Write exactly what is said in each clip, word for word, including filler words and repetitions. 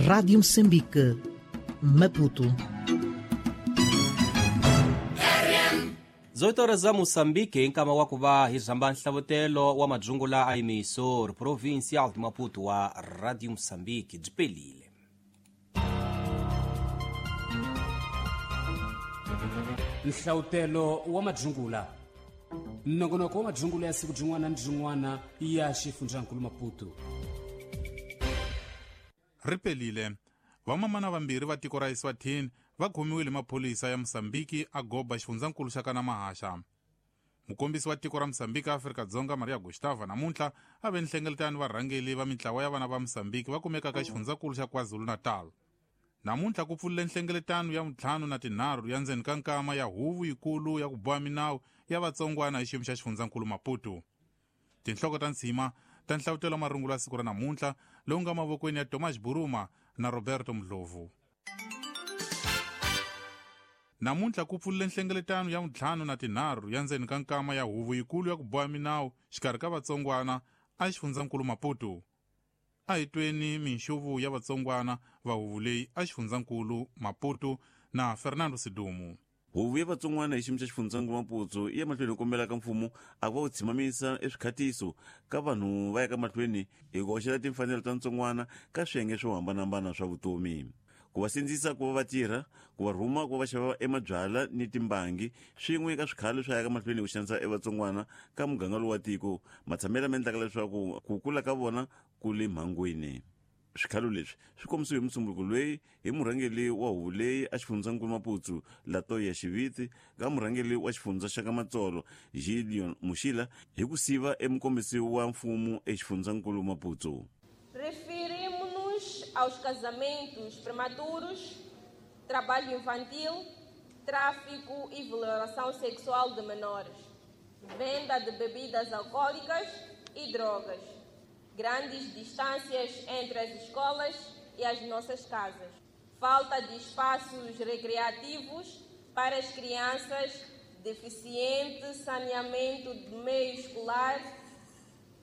Rádio Moçambique, Maputo. dezoito horas za Moçambique, nkama wa kuva hi zamba nhlavutelo wa madzungula a emissor provincial de Maputo wa Rádio Moçambique byi pelile. Nhlavutelo wa madzungula, nongonoko wa madzungula ya siku byin'wana ni byin'wana ya xifundzankulu Maputo. Ri pelile. Vamamana vambirhi va tiko ra Eswatini va khomiwile maphorisa ya Mozambique a goba xifundzankulu xa kana Mahaxa. Mukombisi wa tiko ra Mozambique Afrika-Dzonga Maria Gustava namuntlha a ve nhlengeletano varhangeli va mintlawa ya vana va Mozambique va kumekaka xifundzankulu xa KwaZulu-Natal. Namuntlha ku pfulile nhlengeletano ya ntlhanu na tinharhu ya ndzeni ka nkama ya huvo yikulu ya ku boha minawu ya vatsongwana hi xiyimo xa xifundzankulu Maputo. Tinhloko ta ntshima ta nhlavutelo wa marungula ya siku ra namuntlha lowu nga mavokweni ya Thomas Buruma na Roberto Mdlovu. Namuntlha ku pfulile nhlengeletano ya ntlhanu na tinharhu ya ndzeni ka nkama ya huvo yikulu ya ku boha minawu xikarhi ka vatsongwana a xifundzankulu Maputo. A hi tweni minxuvu ya vatsongwana va huvo leyi a xifundzankulu Maputo na Fernando Sidumu. Huvo ya vatsongwana hi xiyimo xa xifundzankulu Maputo yi ya mahlweni kombela ka mfumo a va wu tshimamisa eswikhatiso ka vanhu va ya ka mahlweni hi ku hoxela timfanelo ta ntsongwana ka swiyenge swo hambanahambana swa vutomi, ku va sindzisa ku va va tirha, ku va rhuma ku va va xava emabyala ni timbangi swin'we ka swikhalo swa ya ka mahlweni ku xanisa evatsongwana ka muganga lowu wa tiko matshamelo ma endlaka leswaku ku kula ka vona ku le mhangwini. Swikhalo leswi swi kombisiwe hi musumbunuko loyi hi murhangeri wa huvo leyi a xifundzankulu Maputo Latoya Xiviti ka murhangeri wa xifundza xa ka Matsolo Gideon Muxila hi ku siva emukombisi wa mfumo exifundzankulu Maputo. Referimos-nos aos casamentos prematuros, trabalho infantil, tráfico e violação sexual de menores, venda de bebidas alcoólicas e drogas, grandes distâncias entre as escolas e as nossas casas, falta de espaços recreativos para as crianças, deficiente saneamento de meio escolar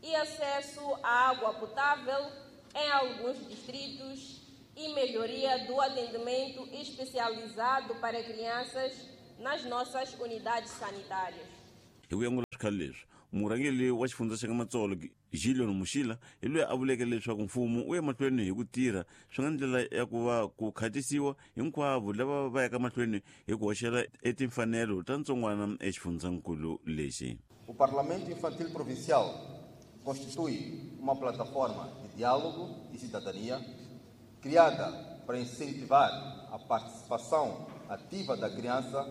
e acesso à água potável em alguns distritos e melhoria do atendimento especializado para crianças nas nossas unidades sanitárias. Hi ku ya swikhalo leswi, murhangeri wa xifundza xa ka Matsolo Gideon Muxila hi loyi a vuleke leswaku mfumo wu ya mahlweni hi ku tirha swi nga ndlela ya ku va ku khatisiwa hinkwavo lava va yaka mahlweni hi ku hoxela etimfanelo ta ntsongwana exifundzankulu lexi. O Parlamento Infantil Provincial constitui uma plataforma de diálogo e cidadania criada para incentivar a participação ativa da criança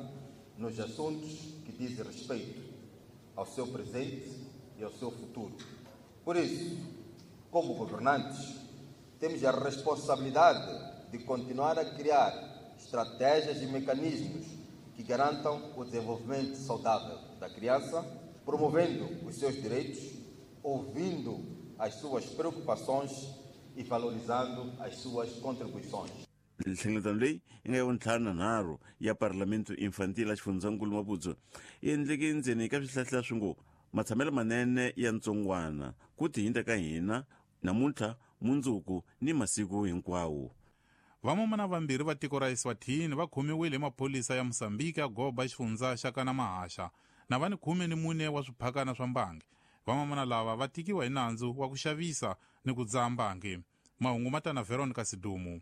nos assuntos que dizem respeito ao seu presente e ao seu futuro. Por isso, como governantes, temos a responsabilidade de continuar a criar estratégias e mecanismos que garantam o desenvolvimento saudável da criança, promovendo os seus direitos, ouvindo as suas preocupações e valorizando as suas contribuições. Nhlengeletano leyi yi nga ya vuntlhanu na nharhu ya Parlamento Infantil a xifundzankulu Maputo yi endleke ndzeni ka swihlahla swi ngo matshamelo manene ya ntsongwana ku tihinta ka hina namuntlha, mundzuku ni masiku hinkwawo. Vamamana vambirhi va tiko ra Eswatini va khomiwile hi maphorisa ya Mozambique a goba xifundza xa kana Mahaxa na va ni khume ni mune wa swiphakana swa mbangi. Vamamana lava va tikiwa hi nandzu wa ku xavisa ni ku dzaha mbangi. Mahungu ma ta na Veronica Sidumu.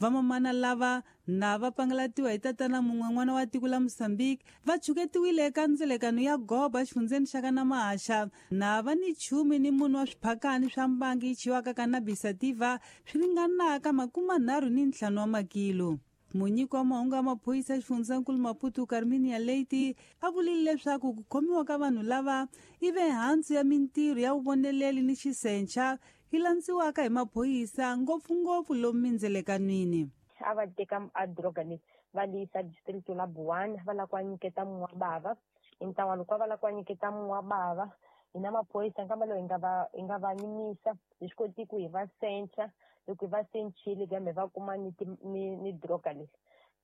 Vamamana lava na va pangalatiwa hi tatana mun'we n'wana wa tiko la Mozambique va chuketiwile eka ndzelekano ya goba xifundzeni xa kana Mahaxa na va ni chumi ni munhu wa swiphakani swa mbangi yi chiwaka cannabis sativa swi ringanaka makumanharhu ni ntlhanu wa makilo. Munyiki wa mahungu ya maphorisa xifundzankulu Maputo Carminia Leite a vulile leswaku ku khomiwa ka vanhu lava i ve hansi ya mintirho ya vuvoneleli ni xisencha yi landziwaka hi maphorisa ngopfungopfu lomu mindzelekanwini. A va teka a droga leyi va li yisa district la Buwana va lava ku va nyiketa munhu wa bava hi ntlawa loko va lava ku va nyiketa munhu wa bava hina maphorisa nkamba lowu hi nga va hi nga va yimisa hi swi koti ku hi va sencha loko hi va senchile kambe va kuma ni ni ni droga leyi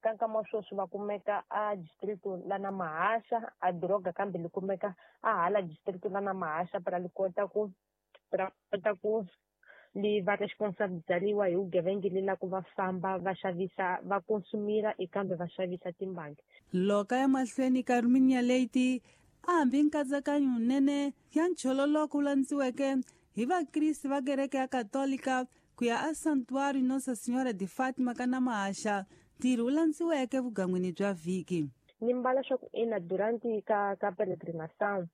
ka nkama wa sweswi va kumeka a district la na Mahaxa a droga kambe li kumeka a hala district la na Mahaxa para li kota ku ra kota ku li va responsabilizariwa hi vugevenga le la ku va famba va xavisa va konsumira ekambe va xavisa timbangi. Loka ya mahlweni ka Carminia Leite a hambi nkatsakanyo nene ya nchololoko wu landziweke hi vakriste va kereke ya Katolika ku ya a Santuário Nossa Senhora de Fátima ka Namahaxa, ntirho wu landziweke vugan'wini bya vhiki. Ni mbala swa ku ina durante ka ka peregrinação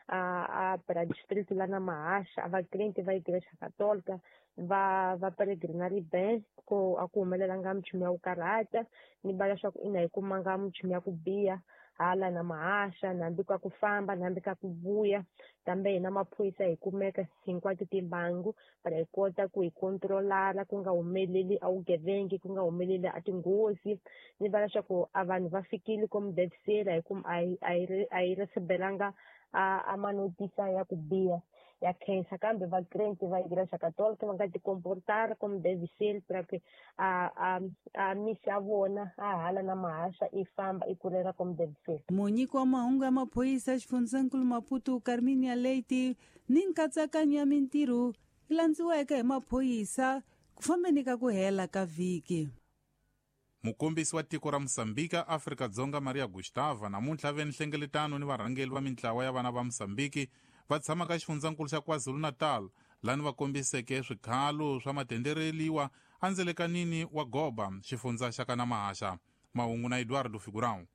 a a para distrito lá na Mahaxa, a vakrente va igreja católica va va peregrinari bem ko a ku humelelanga minchumu ya ku karhata. Ni mbala swa ku ina hi kumanga minchumu ya ku biha hala na Mahaxa, nambi ka ku famba nambi ka ku vuya, kambe hina maphorisa hi kumeka hinkwato timbangu para hi kota ku hi controlara ku nga humeleli a vugevengi, ku nga humeleli a tinghozi. Ni vula leswaku a vanhu va fikile como deve ser, a hi a hi a hi recebelanga a a manotisa ya ku biha ya khensa, kambe vakrente va igreja católica va nga ti comportar como deve ser para que a a a misa ya vona a hala na Mahaxa i famba i kulela como deve ser. Munyiki wa mahungu ya maphorisa xifundzankulu Maputo Carminia Leite ni nkatsakanyo ya mintirho yi landziweke hi maphorisa ku fambeni ka ku hela ka vhiki. Mukombisi wa tiko ra Mosambika Afrika-Dzonga Maria Gustava namuntlha ve nhlengeletano ni varhangeri va mintlawa ya vana va Mosambiki va tshama ka xifundzankulu xa KwaZulu-Natal lani va kombiseke swikhalo swa matendereliwa endzelekanini wa Goba xifundza xa ka Namahaxa. Mahungu na Eduardo Figurão.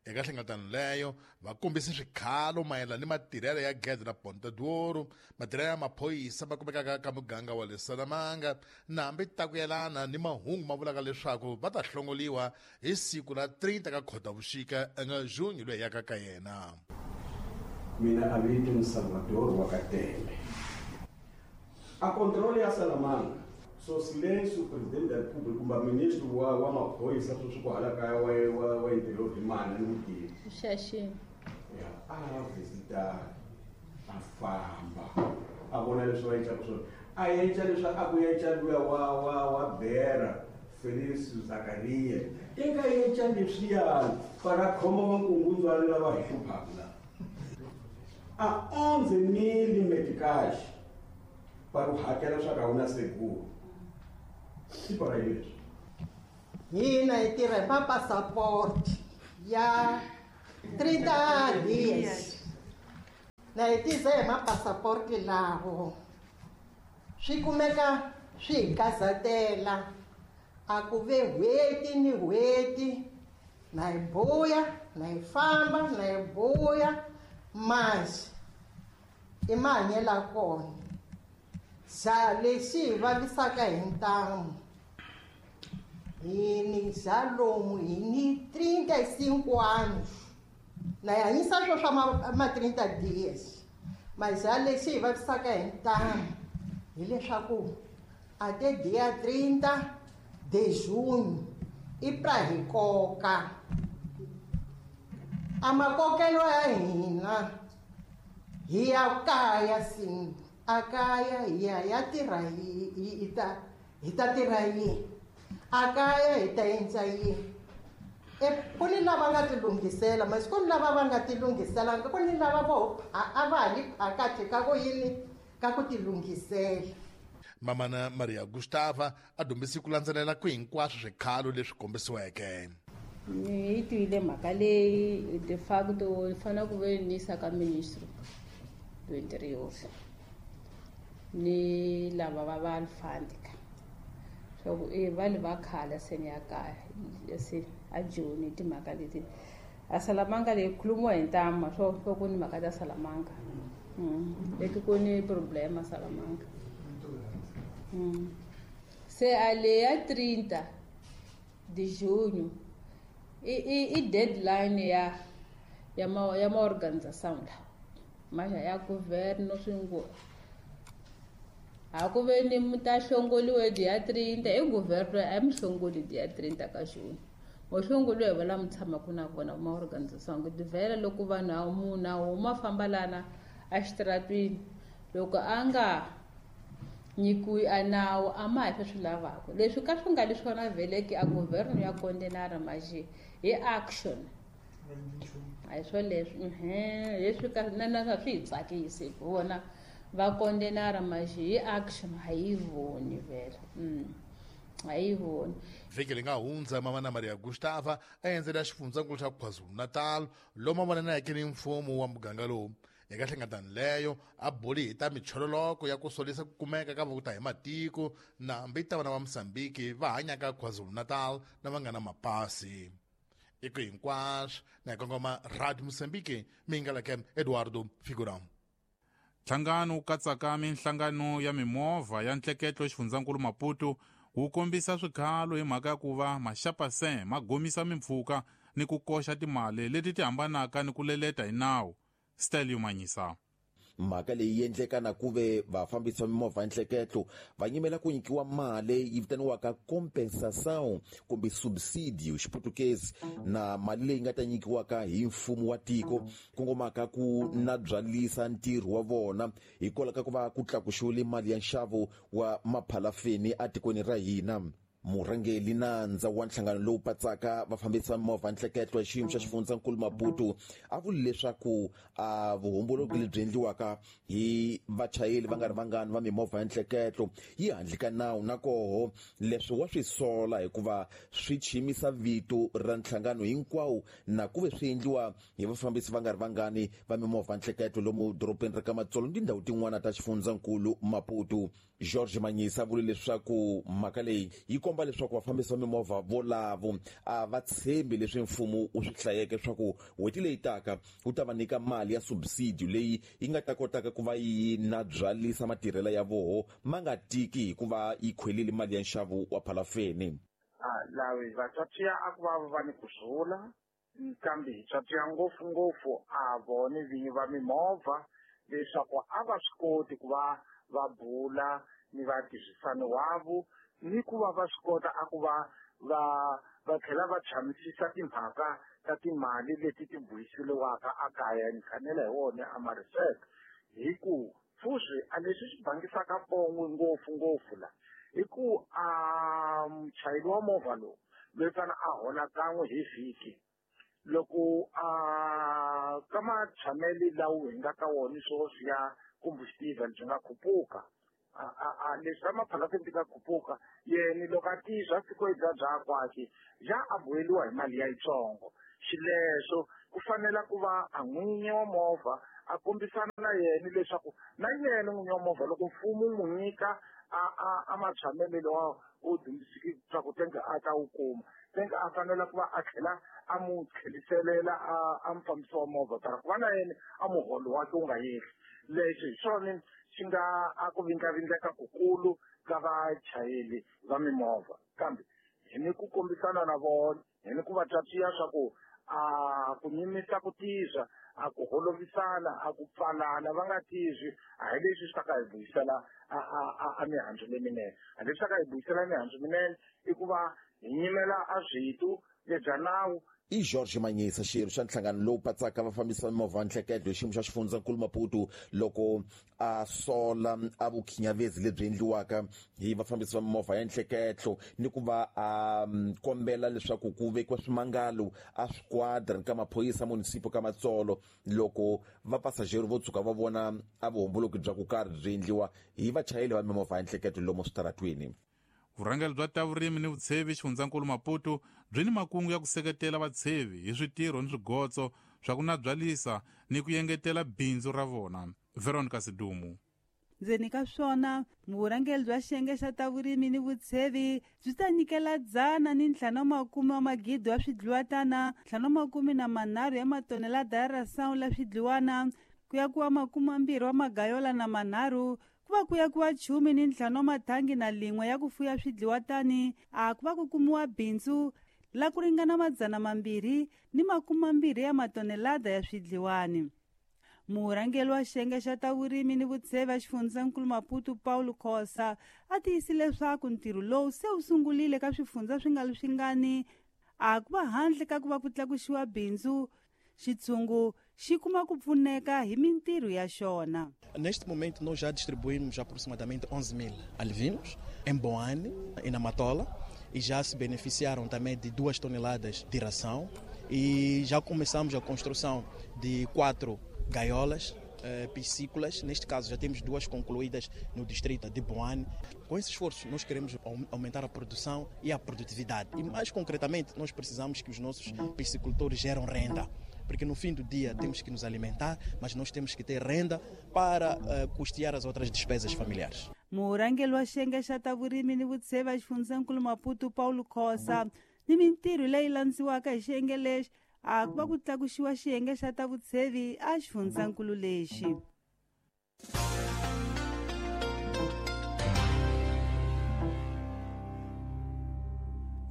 Eka nhlengeletano leyo va kombise swikhalo mayelana ni matirhelo ya gede ra Ponta d'Ouro, matirhelo ya maphorisa va kumekaka ka muganga wa le Salamanga, na hambi ta ku yelana ni mahungu ma vulaka leswaku va ta hlongoliwa hi siku ra trinta ka Khotavuxika eka Junho loyi yaka ka yena. Mina avito ni Salvador wa Katele. A controle ya Salamanga, so silêncio o presidente da República, o ministro wa wa maphorisa sweswi kwala kaya wa wa wa interior hi mani ni n'wi tivi. Xaxini. Ya, a visita a famba a vona leswi va endlaka swona, a endla leswi a ku endla luya wa wa wa Bera Felix Zakaria, i nga endla leswiyani para khoma vankungundzwana lava hi hluphaka la. A onze mil meticais para o hakela swa ka wu na seguro. I para leswi. Hina hi tirha hi mapasapoti ya trinta dias. Na hi tisa hi mapasaporti lawo swi kumeka swi hi kazatela, a ku ve n'hweti ni n'hweti na hi buya na hi famba na hi buya, masi i mahanyelo ya kona. Xa lexi hi vavisaka hi ntamu hi ni xa lomu hi ni trinta e cinco anos na hi hanyisa swo swa ma, ma trinta dias, mas xa lexi hi vavisaka hi ntamu hileswaku até dia trinta de junho i pra hi koka. A makokelo ya hina hi ya kaya sim, a kaya hi ya ya tirha hi hi ta hi ta tirha yini, a kaya hi ta endla yini. E ku ni lava nga ti lunghisela, mas ku ni lava va nga ti lunghiselanga, ku ni lava vo a va ha li phakathi ka ku yini ka ku ti lunghisela. Mamana Maria Gustava a dyondzise ku landzelela ku hinkwaswo swikhalo leswi kombisiweke. Ni yi twile mhaka leyi de facto ni fanele ku ve ni yisa ka ministro do interior ni lava va va alfandika swa ku e va le va khala se ni ya kaya se a Joni timhaka leti a Salamanga leyi khulumiwa hi ntama swo swo ku ni mhaka ta Salamanga leti ku ni problema Salamanga. Mm. Se a leya trinta de junho i i i deadline ya ya ma ya ma organização la mas ya governo swingo a ku ve ni muta hlongoliwe dia trinta e governo a mi hlongoli dia trinta ka junho mo hlongoliwe va la mi tshamaka na kona ma organização ku divela loko vanhu a munhu a huma famba lana exitratwini loko a nga nyikiwi a nawu a ma hi swi lavaka leswi ka swi nga le swona vheleki a governo ya kondenara maje hi action a hi swo leswi ehe leswi ka na na swi hi tsakisi hi vona Va kondenara mas hi action a yi voni vhele. Mm. A yi voni. Vhiki leri nga hundza Mamana Maria Gustava a endzela xifundzankulu xa KwaZulu-Natal lomu a vonaneke ni mfumo wa muganga lowu. Eka nhlengeletano leyo a buli hi ta michololoko ya ku solisa ku kumeka ka vakuta hi matiko na hambi ta vana va Mozambique va hanyaka KwaZulu-Natal na va nga na mapasi. I ku hinkwaswo na hi kongoma Radio Mozambique mi nga leke Eduardo Figurão. Nhlangano wu katsaka minhlangano ya mimovha ya ntleketlo xifundzankulu Maputo wu kombisa swikhalo hi mhaka ya ku va maxapasen ma gomisa mimpfhuka ni ku koxa timali leti ti hambanaka ni ku leleta hi nawu. Stelio Manyisa. Mhaka leyi endleka na ku ve vafambisi va mimovha nhleketlo va nyimela ku nyikiwa mali yi vitaniwaka compensação kumbe subsidio xiputukezi na mali leyi nga ta nyikiwaka hi mfumo wa tiko kongomaka ku na byalisa ntirho wa vona hikwalaho ka ku va ku tlakuxiwile mali ya nxavo wa maphalafeni etikweni ra hina. Murhangeri nandza wa nhlangano lowu patsaka vafambisi va mimovha nhleketlo ya xiyimo xa xifundzankulu Maputo a vuli leswaku a vuhomboloki lebyi endliwaka hi vachayeri va nga ri vangani va mimovha ya nhleketlo yi handle ka nawu na koho leswi wa swi sola hikuva swi chimisa vito ra nhlangano hinkwawo na ku ve swi endliwa hi vafambisi va nga ri vangani va mimovha nhleketlo lomu dorobeni ra ka Matsolo ni tindhawu tin'wana ta xifundzankulu Maputo. George Manyisa vule leswaku mhaka leyi yi komba leswaku vafambisi va mimovha volavo a va tshembi leswi mfumo wu swi hlayeke leswaku n'hweti leyi taka wu ta va nyika mali ya subsidio leyi yi nga ta kotaka ku va yi na byalisa matirhelo ya voho ma nga tiki hikuva yi khwelile mali ya nxavo wa phalafeni. Lavi vatswatsi a ku va va ni ku kambe hi tswatsi ngopfungopfu a vona vinyi va mimovha leswaku a va swi koti ku va va bula ni vatirhisani wavo ni ku va va swi kota a ku va va va tlhela va tshamisisa timhaka ta timali leti ti buyiseliwaka a kaya ni khanela hi wona a mariseka hi ku fusi a leswi swi bangisaka pongwe ngopfungopfu la hi ku a muchayeri wa movha lowu loyi fana a hola kan'we hi vhiki loko a ka matshamelo lawo hi nga ka wona sweswi ya combustible byi nga khupuka a a leswi ta maphalafeni ti nga khupuka yena loko a tizwa siku bya bya kwakhe ja a boheliwa hi mali ya yitsongo xileswo ku fanela ku va a n'winyi wa movha a kombisana na yena leswaku na yena n'winyi wa movha loko mfumo wu n'wi nyika a a a matshamelo lawa u dyondzisiki swa ku tenga a ta wu kuma tenga a fanela ku va a tlhela a mu tlheliselela a a mufambisi wa movha tara ku va na yena a muholo wakhe wu nga yehli leswi hi swona swi nga a ku vindlavindleka kukulu ka vachayeri va mimovha kambe hi ni ku kombisana na vona hi ni ku va twatsiya swa ku a ku nyimisa ku tizwa a ku holovisana a ku pfalana va nga tizwi a hi leswi swi ta ka hi vuyisela a a a mihandzu leminene a leswi ta ka hi vuyisela mihandzu minene i ku va hi nyimela a switu lebya nawu. I George Manyisa xirho xa nhlangano lowu patsaka vafambisi va mimovha nhleketlo hi xiyimo xa xifundzankulu Maputo loko a sola a vukhinyavezi lebyi endliwaka hi vafambisi va mimovha ya nhleketlo ni ku va a kombela leswaku ku vekiwa swimangalo a swiquadra ka maphorisa munisipo ka Matsolo loko vapasajeri vo tshuka va vona a vuhomboloki bya ku karhi byi endliwa hi vachayeri va mimovha ya nhleketlo lomu switaratweni. Vurhangeri bya ta vurimi ni vutshevi xifundzankulu Maputo byi ni makungu ya ku seketela vatshevi hi switirho ni swigotso swa ku nabyalisa ni ku yengetela bindzu ra vona. Veronica Sidumu. Ndzeni ka swona vurhangeri bya xiyenge xa ta vurimi ni vutshevi byi ta nyikela dzana ni ntlhanu makume wa magidi wa swidliwatana ntlhanu makume na manharhu ya matonelada ya rasawu la swidliwana ku ya kuwa makume mambirhi wa magayola na manharhu ku va ku ya kuwa chumi ni ntlhanu wa mathangi na lin'we ya ku fuya swidliwatani a ku va ku kumiwa bindzu la ku ringana madzana mambirhi ni makume mambirhi ya matonelada ya swidliwani. Murhangeri wa xiyenge xa ta vurimi ni vutshevi xifundzankulu Maputo Paulo Khosa a tiyisile leswaku ntirho lowu se wu sungurile ka swifundza swi nga swingani a ku va handle ka ku va ku tlakusiwa bindzu xitshungu xi kuma ku pfuneka hi mintirho ya xona. Neste momento nós já distribuímos aproximadamente onze mil alevinos em Boane e na Matola e já se beneficiaram também de duas toneladas de ração e já começamos a construção de quatro gaiolas eh, piscícolas. Neste caso, já temos duas concluídas no distrito de Boane. Com esse esforço, nós queremos aumentar a produção e a produtividade. E mais concretamente, nós precisamos que os nossos piscicultores geram renda. Porque no fim do dia temos que nos alimentar, mas nós temos que ter renda para uh, custear as outras despesas familiares. Murhangeri wa xiyenge xa ta vurimi ni vutsheva xifundzankulu Maputo Paulo Khosa ni mintirho leyi landziwaka hi xiyenge lexi a ku va ku tlakuxiwa xiyenge xa ta vutshevi a xifundzankulu lexi.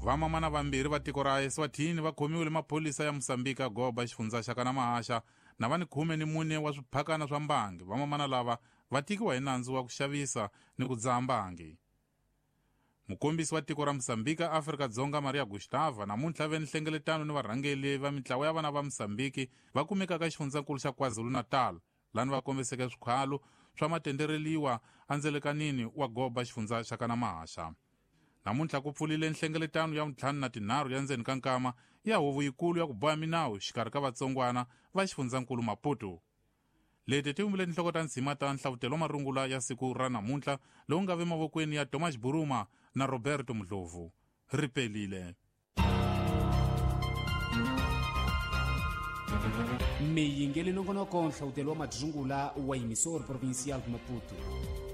Vamamana vambirhi va tiko ra Eswatini va khomiwile maphorisa ya Mozambique Goba xifundza xa Kanamahaxa na va ni khume ni mune wa swiphakana swa mbangi. Vamamana lava va tikiwa hi nandzu wa ku xavisa ni ku dzaha mbangi. Mukombisi wa tiko ra Mozambique Afrika-Dzonga Maria Gustava namuntlha ve ni nhlengeletano ni varhangeli va mintlawa ya vana va Mozambique va kumekaka xifundzankulu xa KwaZulu-Natal lani va kombiseke swikhalo swa matendereliwa endzelekanini wa Goba xifundza xa Kanamahaxa. Namuntlha ku pfulile nhlengeletano ya ntlhanu na tinharhu ya ndzeni ka nkama ya huvo yikulu ya ku boha minawu xikarhi ka vatsongwana va xifundzankulu Maputo. Leti ti vumbile tinhloko ta ndzima ta nhlavutelo wa marungula ya siku ra namuntlha lowu nga ve mavokweni ya Thomas Buruma na Roberto Mdlovu. Ri pelile. Miyingeli nongonoko nhlavutelo wa madzungula wa Emissora Provincial de Maputo.